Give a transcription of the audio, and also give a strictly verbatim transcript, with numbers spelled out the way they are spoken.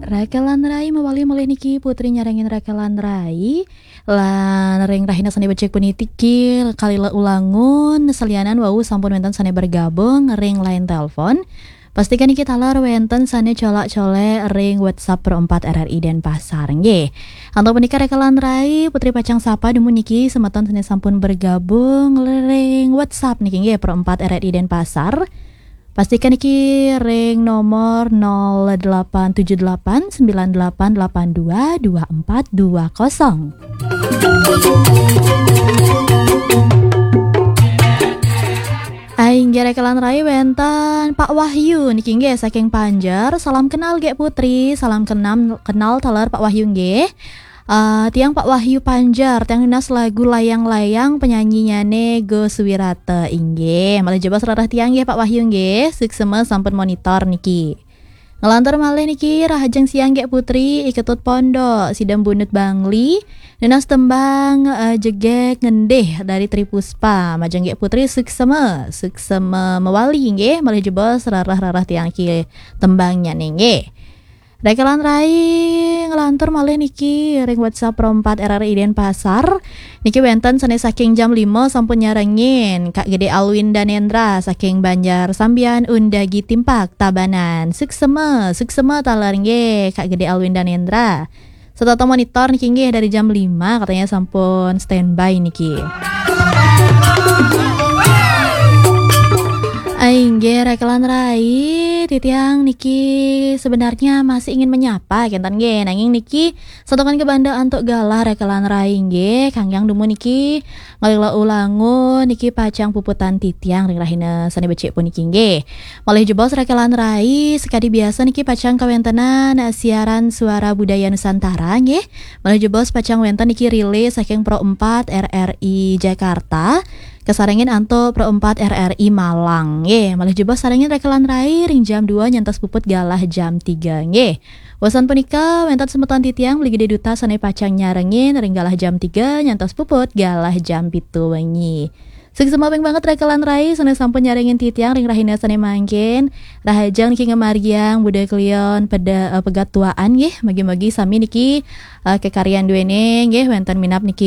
Rakelan Rai mawali malih niki Putri nyarengin Rakelan Rai. Lan ring rahina sane becik puniki kalila ulangun salianan wau sampun wenten sane bergabung ring line telepon. Pastikan niki taler wenten sane colak-colek ring WhatsApp Pro empat R R I Denpasar nggih. Antuk punika Rakelan Rai, Putri pacang sapa dumun niki semeton sane sampun bergabung ring WhatsApp niki nggih Pro empat R R I Denpasar. Pastikan niki ring nomor nol delapan tujuh delapan sembilan delapan delapan dua dua empat dua kosong. Inggih Rakelan Rai wenten Pak Wahyu niki nggih saking Panjer. Salam kenal nggih Putri, salam kenam, kenal taler Pak Wahyu nggih. Eh, tiang Pak Wahyu Panjar, tiang nunas lagu Layang-Layang, penyanyinyane Gus Wirata inggih. Malih jebos rarah tiang nggih Pak Wahyu nggih, suksema sampun monitor niki. Ngelantur malih niki, rahajeng siang nggih Putri, Iketut Pondok, Sidem Bunut Bangli, nunas tembang eh, Jegeg Ngendih dari Tri Puspa. Majeng nggih Putri suksema, suksema mewali nggih, malih jebos rarah-rarah tiang niki tembangnya nggih. Rakelan Rai ngelantur malih niki ring WhatsApp Pro empat R R I Denpasar. Niki wenten sane saking jam lima sampun nyarengin. Kak Gede Alwin Danendra saking Banjar Sambian Undagi Timpak Tabanan. Suksema, suksema taler nggih Kak Gede Alwin Danendra. Setata monitor niki nggih dari jam lima katanya sampun standby niki. Inggih Rakelan Rai, titiang niki sebenarnya masih ingin menyapa kenten nggih, nanging niki satukan ke banda antuk galah Rakelan Rai nggih, kangkang dumun niki ngalila ulangun niki pacang puputan titiang ring rahina sane becik puniki nggih. Malih jebos Rakelan Rai, sekadi biasa niki pacang kawentenan eh, siaran Suara Budaya Nusantara nggih. Malih jebos pacang wenten niki relay saking Pro empat R R I Jakarta. Kasarengin antuk Pro empat R R I Malang. Nggih, malih jebos sarengin Rakelan Rai ring jam dua nyantos puput galah jam tiga. Nggih. Wasan punika wenten semeton titiang mligi duta sane pacang nyarengin ring galah jam tiga nyantos puput galah jam pitu wengi. Suksema banget Rakelan Rai sane sampun nyarengin titiang ring rahina sane mangkin. Rahajeng niki ngamargiang budaya kelion peda eh, pegat tuaan nggih. Mugi-mugi sami niki eh, kekaryan duene nggih wenten minab niki